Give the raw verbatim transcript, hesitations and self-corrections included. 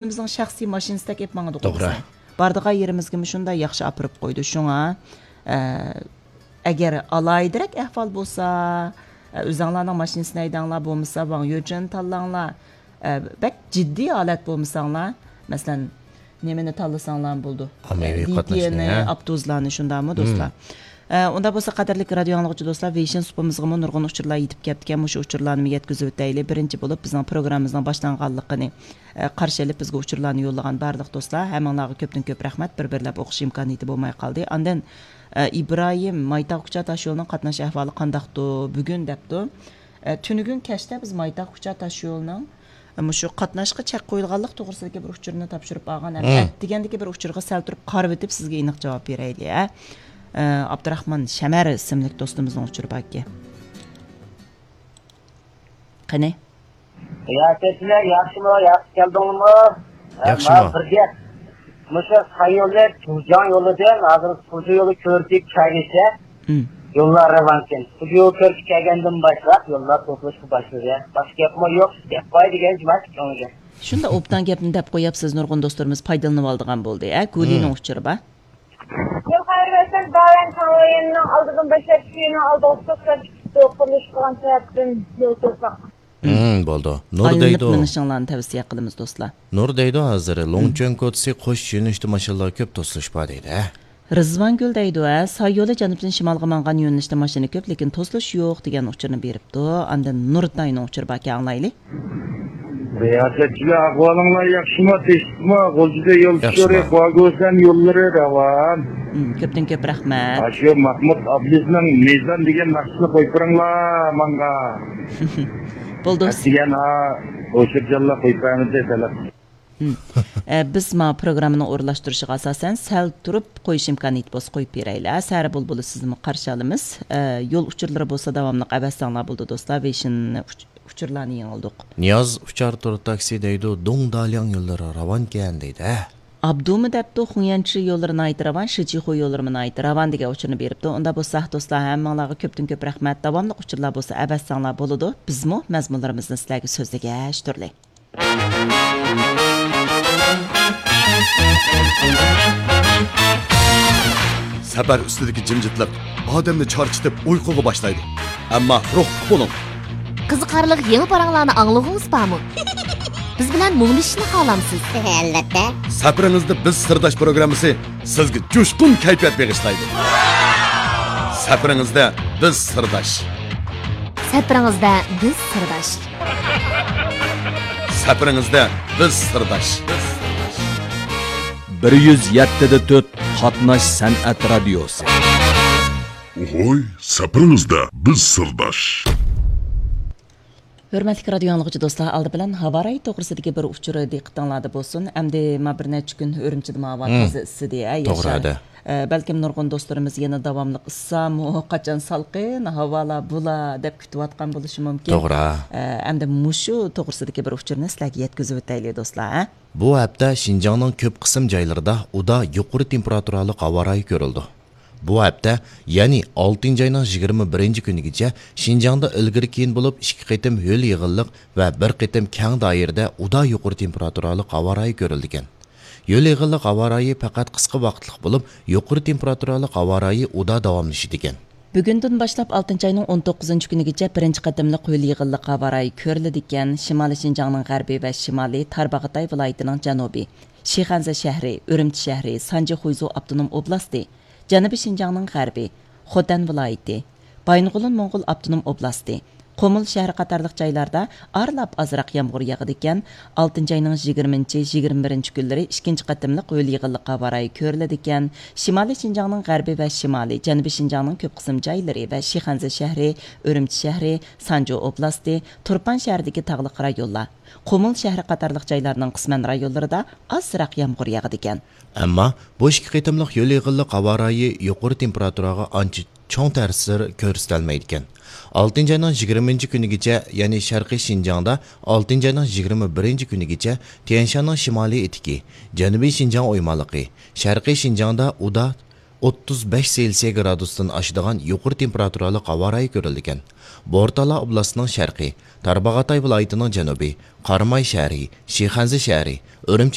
ئۆزىمىزنىڭ شەخسىي ماشىنىسىدەك ئېلىپ ماڭىدىغۇ توغرا. بىز. بارىدىغان يېرىمىزگىمۇ شۇنداق ياخشى ئاپىرىپ قويىدۇ. شۇڭا، ئە، ئەگەر ئالاھىدىرەك ئەھۋال بولسا، ئە، ئۆزەڭلارنىڭ ماشىنىسىنى ھەيدەڭلار، بولمىسا ۋاڭ يۆجۈننى تاللاڭلار. ئە، بەك جىددىي ھالەت بولمىساڭلار، مەسىلەن، نېمىنى تاللىساڭلارمۇ بولىدۇ. ئاممىۋى ئە، قاتناشنى، لىتىيەنى، ھە؟ ئاپتوبۇسلارنى، شۇنداقمۇ، مم. دوستلار؟ ئە، ئۇنداق بولسا، قەدىرلىك رادىيو ئاڭلىغۇچى دوستلار، ۋېيشىن سۇپىمىزغىمۇ نۇرغۇن ئۇچۇرلار يېتىپ كەپتىكەن. مۇشۇ ئۇچۇرلارنىمۇ يەتكۈزۈۋېتەيلى. بىرىنچى بولۇپ، بىزنىڭ پروگراممىمىزنىڭ باشلانغانلىقىنى، ئە، قارشى ئېلىپ، بىزگە ئۇچۇرلارنى يوللىغان بارلىق دوستلار، ھەممىڭلارغا كۆپتىن كۆپ رەھمەت. بىر-بىرلەپ ئوقۇش ئىمكانىيىتى بولماي قالدى. ئاندىن، ئە، ئىبراھىم، مايتاغ كۇچا تاشيولىنىڭ قاتناش ئەھۋالى قانداقتۇ بۈگۈن؟ دەپتۇ. ئە، تۈنۈگۈن كەچتە بىز مايتاغ كۇچا تاشيولىنىڭ، ئە، مۇشۇ قاتناشقا چەك قويۇلغانلىق توغرىسىدىكى بىر ئۇچۇرنى تاپشۇرۇپ ئالغان. ھەم مم. ئەتىگەندىكى بىر ئۇچۇرغا سەل تۇرۇپ قارىۋېتىپ، سىزگە ئېنىق جاۋاب بېرەيلى، ھە. ئە، ئابدۇراخمان شەمەر ئىسىملىك دوستىمىزنىڭ ئۇچۇرى باركەن. قېنى؟ ياكەچلەر ياخشىمۇ؟ ياخشى كەلدىڭلارمۇ؟ ھە، ياخشىمۇ؟ مانا بىر گەپ. مۇشۇ سايولى تۇجاڭ يولىدىن ھازىر تۇجا يولى كۆرۈكى كەلگىچە مم. يوللار راۋانكەن. تۇجا يولى كۆرۈكى كەلگەندىن باشلاپ يوللار توسۇلۇشقا باشلىدى. باشقا گەپمۇ يوق. گەپ باي دېگەن جۇمۇ كۆڭۈلگە. شۇنداق ئوبدان گەپنى دەپ قويۇپ، سىز نۇرغۇن دوستلىرىمىز پايدىلىنىۋالىدىغان بولدى. ھە، گۇلىنىڭ مم. ئۇچۇرى بار. يول خەير بەرسەك، دائىم كاڭۋېيىننىڭ ئالدىدىن باشلاپ، شۇنىڭ ئالدىغا توختاپ كېتىپتۇ، قۇرۇلۇش قىلغان سەۋەبتىن يول توساق. مم، بولدى. نۇر ئايلىنىپ دەيدۇ. مېڭىشىڭلارنى تەۋسىيە قىلىمىز، دوستلار. نۇر دەيدۇ، ھازىر مم. لوڭچۈەن كوچىسى قوش يۆنىلىشتە ماشىنىلار كۆپ، توسۇلۇش بار دەيدۇ، ھە؟ رىزۋانگۈل دەيدۇ، ھە، ساي يولى جەنۇبتىن شىمالغا ماڭغان يۆنىلىشتە ماشىنا كۆپ، لېكىن توسۇلۇش يوق دېگەن ئۇچۇرنى بېرىپتۇ. ئاندىن نۇرتاينىڭ ئۇچۇرى باركەن، ئاڭلايلى. رىياسەتچىلەر، ئەھۋالىڭلار ياخشىمۇ، تىنچلىقمۇ؟ غۇلجىدا يول ياخشىمۇ؟ ئۇچۇرى، خۇاگوسەن يوللىرى راۋان. مم، كۆپتىن كۆپ رەھمەت. ئاشۇ مەھمۇد ئابلىزنىڭ مىزان دېگەن ناخشىسىنى قويۇپ بېرىڭلار ماڭا. بولدى. ئەتىگەن ھا، ھوشۇرجانلار قويۇپ بەرمىدى، تەلەپ. مم. ئە، بىز ما پروگراممىنىڭ ئورۇنلاشتۇرۇشىغا ئاساسەن سەل تۇرۇپ قويۇش ئىمكانىيىتى بولسا قويۇپ بېرەيلى. ھە، سەھەر بۇلبۇلى سىزنىمۇ قارشى ئالىمىز. ئە، يول ئۇچۇرلىرى بولسا داۋاملىق ئەۋەتسەڭلار بولىدۇ، دوستلار. ۋېيشىن ئۇچ-، ئۇچۇرلارنى يېڭىلدۇق. نىياز ئۇچار تور تاكسى دەيدۇ، دۇڭدالياڭ يوللىرى راۋانكەن دەيدۇ، ھە؟ ئابدۇمۇ دەپتۇ، خۇڭيەنچى يوللىرى ناھايىتى راۋان، شىجىخۇ يوللىرىمۇ ناھايىتى راۋان دېگەن ئۇچۇرنى بېرىپتۇ. ئۇنداق بولسا، دوستلار، ھەممىڭلارغا كۆپتىن كۆپ رەھمەت. داۋاملىق ئۇچۇرلار بولسا ئەۋەتسەڭلار بولىدۇ. بىزمۇ مەزمۇنلىرىمىزنى سىلەرگە سۆزلىگەچ تۇرلى. سەپەر ئۈستىدىكى جىمجىتلىق ئادەمنى چارچىتىپ ئۇيقۇغا باشلايدۇ. ئەمما روھلۇق بولۇڭ. قىزىقارلىق يېڭى پاراڭلارنى ئاڭلىغۇڭىز بارمۇ؟ بىز بىلەن مۇڭدىشىشنى خالامسىز؟ ئەلۋەتتە. سەپىرىڭىزدە بىز سىرداش پروگراممىسى سىزگە جۇشقۇن كەيپىيات بېغىشلايدۇ. سەپىرىڭىزدە بىز سىرداش. سەپىرىڭىزدە بىز سىرداش. سەپىرىڭىزدە بىز سىرداش. بىر يۈز يەتتە دە تۆت قاتناش سەنئەت رادىيوسى. ئوھوي، سەپىرىڭىزدە بىز سىرداش. ھۆرمەتلىك رادىيو ئاڭلىغۇچى دوستلار، ئالدى بىلەن ھاۋا رايى توغرىسىدىكى بىر ئۇچۇر دىققىتىڭلاردا بولسۇن. ئەمدى ما بىر نەچچە كۈن ئۈرۈمچىدە ما ھاۋا مم. تازا ئىسسىدى، ھە، توغرا ياشار. ئەدە. ئە، بەلكىم نۇرغۇن دوستلىرىمىز يەنە داۋاملىق ئىسسامۇ، قاچان سالقىن ھاۋالار بۇلا دەپ كۈتۈۋاتقان بولۇشى مۇمكىن. توغرا. ئە، ئەمدى مۇشۇ توغرىسىدىكى بىر ئۇچۇرنى سىلەرگە يەتكۈزۈۋېتەيلى، دوستلار، ھە؟ بۇ ھەپتە شىنجاڭنىڭ كۆپ قىسىم جايلىرىدا ئۇدا يۇقىرى تېمپېراتۇرالىق ھاۋا رايى كۆرۈلىدۇ. بۇ ھەپتە، يەنى ئالتىنچى ئاينىڭ يىگىرمە بىرىنچى كۈنىگىچە شىنجاڭدا ئىلگىرى كېيىن بولۇپ ئىككى قېتىم ھۆل يېغىنلىق ۋە بىر قېتىم كەڭ دائىرىدە ئۇدا يۇقىرى تېمپېراتۇرالىق ھاۋا رايى كۆرۈلىدىكەن. ھۆل يېغىنلىق ھاۋا رايى پەقەت قىسقا ۋاقىتلىق بولۇپ، يۇقىرى تېمپېراتۇرالىق ھاۋا رايى ئۇدا داۋاملىشىدىكەن. بۈگۈندىن باشلاپ ئالتىنچى ئاينىڭ ئون توققۇزىنچى كۈنىگىچە بىرىنچى قېتىملىق ھۆل يېغىنلىق ھاۋا رايى كۆرۈلىدىكەن. شىمالىي شىنجاڭنىڭ غەربى ۋە شىمالى، تارباغاتاي ۋىلايىتىنىڭ جەنۇبى، شىخەنزە شەھىرى، ئۈرۈمچى شەھىرى، سانجى خۇيزۇ ئاپتونوم ئوبلاستى، جەنۇبىي شىنجاڭنىڭ غەربى، خوتەن ۋىلايىتى، بايىنغولىن موڭغۇل ئاپتونوم ئوبلاستى، قۇمۇل شەھىرى قاتارلىق جايلاردا ئارىلاپ ئازراق يامغۇر ياغىدىكەن. ئالتىنچى ئاينىڭ يىگىرمىنچى، يىگىرمە بىرىنچى كۈنلىرى ئىككىنچى قېتىملىق ھۆل يېغىنلىق ھاۋا رايى كۆرۈلىدىكەن. شىمالىي شىنجاڭنىڭ غەربى ۋە شىمالى، جەنۇبىي شىنجاڭنىڭ كۆپ قىسىم جايلىرى ۋە شىخەنزە شەھىرى، ئۈرۈمچى شەھىرى، سانجۇ ئوبلاستى، تۇرپان شەھىرىدىكى تاغلىق رايونلار، قۇمۇل شەھىرى قاتارلىق جايلارنىڭ قىسمەن رايونلىرىدا ئازراق يامغۇر ياغىدىكەن. ئەمما بۇ ئىككى قېتىملىق ھۆل يېغىنلىق ھاۋا رايى يۇقىرى تېمپېراتۇراغا ئانچە چوڭ تەسىر كۆرسىتەلمەيدىكەن. ئالتىنچى ئاينىڭ يىگىرمىنچى كۈنىگىچە، يەنى شەرقىي شىنجاڭدا، ئالتىنچى ئاينىڭ يىگىرمە بىرىنچى كۈنىگىچە تيەنشاننىڭ شىمالىي ئېتىكى، جەنۇبىي شىنجاڭ ئويمانلىقى، شەرقىي شىنجاڭدا ئۇدا ئوتتۇز بەش سېلسىيە گرادۇستىن ئاشىدىغان يۇقىرى تېمپېراتۇرالىق ھاۋا رايى كۆرۈلىدىكەن. بورتالا ئوبلاستىنىڭ شەرقى، تارباغاتاي ۋىلايىتىنىڭ جەنۇبى، قاراماي شەھىرى، شىخەنزە شەھىرى، ئۈرۈمچى